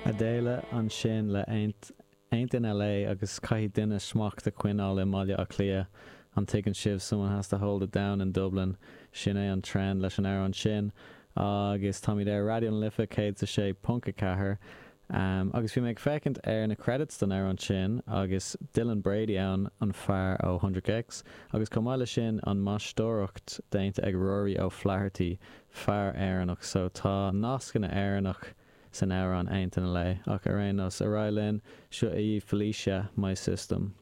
Adele ansin le Ain't Ain't in LA agus caithfidh duine smacht a choinneáil i mBaile Átha Cliath, an dtuigeann sibh, someone has to hold it down in Dublin, sin é an trend leis an amhrán sin. Agus táimid ar Raidió na Life 106.4. Agus bhí mé ag féachaint ar na credits don amhrán sin agus Dylan Brady ann, an fear ó 100 gecs, agus chomh maith le sin an mhaisteoireacht déanta ag Rory O'Flaherty, fear Éireannach, so tá nascanna Éireannach san amhrán Ain't in LA. Ach ar aon nós, ar aghaidh linn, seo í Felicia, My System.